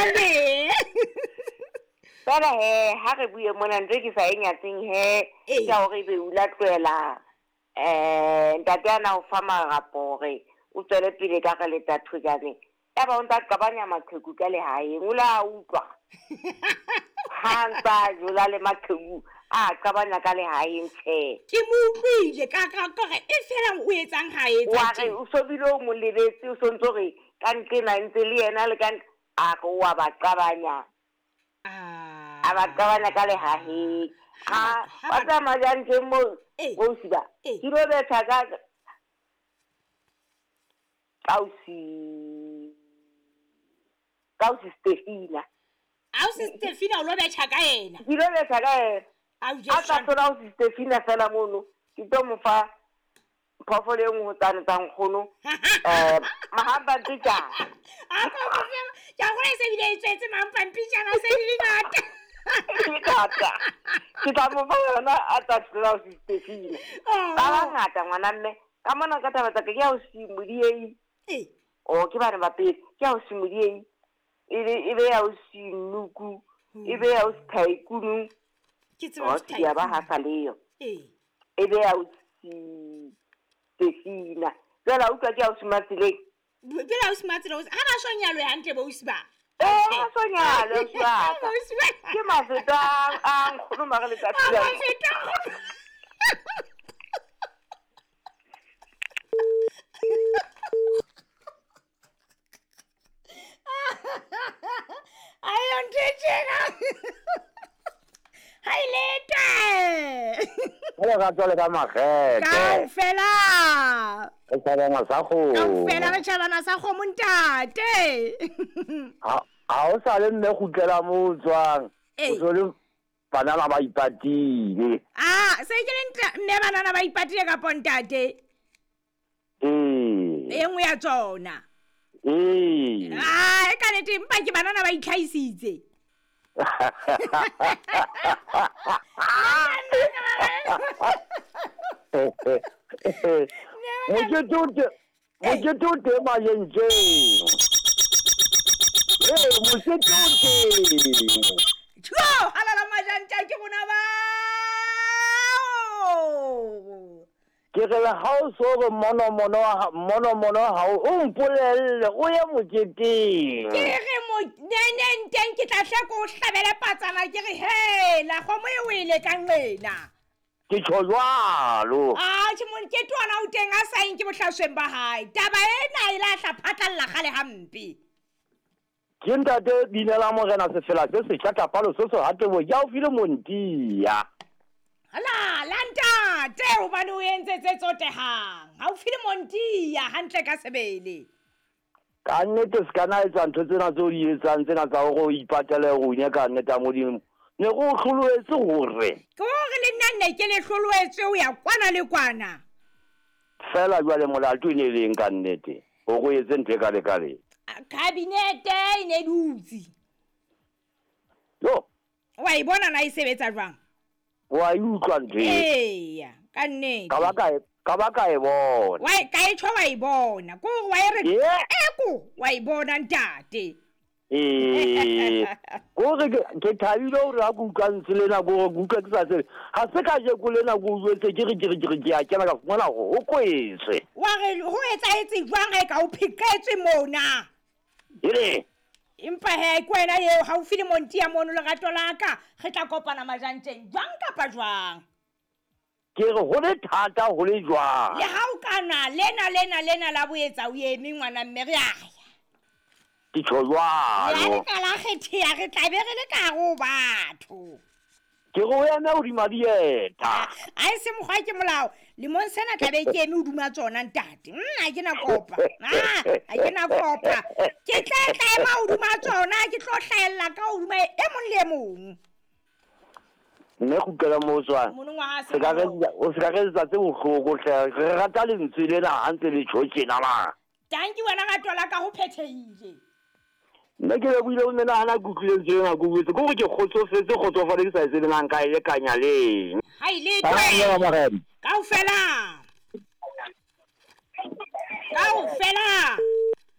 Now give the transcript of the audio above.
Jwale. Fela he ha re bue mona ntho e ke sa e nyatseng he Ee. ke ya hore ebe o la tlohela ntate ana o fa marapo hore o tswele pele ka re leta thojane. Ya ba o ntsa qabanya maqheku ka lehaeng o la utlwa. Ha ntsa jola le maqheku a qabanya ka lehaeng tjhe. Ke mo utlwile ka ka ka re e fela o etsang ha etsa Wa re tje. o so bile o mo lebetse o sontso re ka nqena ntse le yena le ka a re wa ba qabanya. Ah. A ba qabanya ka lehaheng. Ha A ba- ha wa ba- tsamaya jang teng moo Ee. ausi ba. Ee. Ke lo betha ka ausi ausi Stefina. Ausi Stefina o lo betjha ka yena. Ke lo betha ka yena. Au A tla thola ausi Stefina fela mono. Ke tlo mo fa phoofolo e nngwe ho tsane tsa nkgono. Mahampampitjana. A ko mo fe. Ke a gola e se bile e tswetse mampampitjana se di le ngata. Ngata. Ke tla mo fa yona a tla thola ausi Stefina. Oh. Ba bangata ngwana mme. Ka mona ka taba tsa ka ke ausi Modiei. Ee. O ke bana ba pele. Ke ausi Modiei. E be ausi Nuku. E be ausi Tycoon. Ke tseba O ho ya ba ha sa leyo. Ee. E be ausi Stefina. Jwale a utlwa ke ausi Matseleng. Jwale ausi Matsela o ha ba so nyalwe hantle bo ausi ba. Eh, ha so nyalwe ausi wa ka. Ausi ba. Ke mafeta a nkgono mare letsatsi A la. mafeta a nkgono. Ayo ntho e tjena. Ha e lete. Jwale ka tswale ka makgethe. Kaofela. Re tjhabana sa kgomo. Kaofela re tjhabana sa kgomo ntate. Ha o sa le mme kgutlela moo o tswang. Ee. O so le banana ba ipatile. Ah, se ke le mme banana ba ipatile kapo ntate? Ee. E nngwe ya tsona. Ee. Ah, e ka nnete empa ke banana ba itlhahisitse. Mokete o teng, mokete o teng Majentjeng. Ee, mokete o teng. Tjho, halala Majantja ke rona bao. Ke re le ha o so re mono mono mono mono ha o mpolelle o ye moketeng. Ke re mo neneng teng ke tla hle ko o hlabele patsana ke re hela kgomo e wele ka nqena. Ke tjho jwalo. Ah, tjhe mokete ona o teng a sa eng ke bohlasweng ba hae. Taba ena e la hla phatlalla kgale hampe. Ke ntate Binela Morena Sefela se setjha tlapalo se se hatebo ya o file Montiya. Ala, la ntate hobane o entse tse tsotehang. Ha o file Montiya hantle ka sebele. Ka nnete se ka na etsa ntho tsena tseo di etsang tsena tsa hore o ipatele rune ka nnete ya Modimo. Ne re o hloloetse hore. Ke hore le nna nne ke le hloloetswe ho ya kwana le kwana. Fela jwale molato e ne leng ka nnete hore o etse ntho e kale-kale. Kabinete e ne dutse. Yo. Wa e bona na e sebetsa jwang? Wa e utlwa ntho e. Eya, ka nnete. Ka ba ka e bona. Wa e ka e tjho wa e bona. Ke hore wa e re eko wa e bona ntate. Ee. Hore ke thabile hore ha ke utlwa ntse lena ke hore ke utlwa ke sa tsebe. Ha se kajeko lena ke utlwetse ke re ke re ke re ke a kena ka fumana hore ho kwetswe. Wa re ho etsahetse jwang ha e ka o pheqetswe mona? Ere. Empa he ke wena eo haufi le Montiya mono lerato la ka, re tla kopana Majantjeng jwang kapa jwang? Ke re ho le thata ho le jwang? Le ha o ka na lena lena lena la boetsa o eme ngwana mme re a ya. Ke tjho jwalo. Le ha le ka la kgetheha re tla be re le ka hare ho batho. Ke re o eme hodima dieta. A e se mokgwa ke molao. Lemong sena tla be ke eme hodima tsona ntate. Ha ke na kopa. Ha ke na kopa. Ke tla tla ema hodima tsona, ke tlo hlahella ka hodima e mong le e mong. Mme kgutlela moo o tswang. Monongwaha Se ka re o se ka re etsa tse bohloko hle. Re rata lentswe lena ha ntse le tjho tjena la. Tanki wena rato la ka ho phethehile. Nna ke lebohile ho menahana ke utlwile lentswe lena ke utlwetse. Ke hore ke kgotsofetse, kgotsofale ke sa e tsebe na nka e lekanya leng. Ha e le Ba twe. bang ba Morena. Kaofela. Kaofela.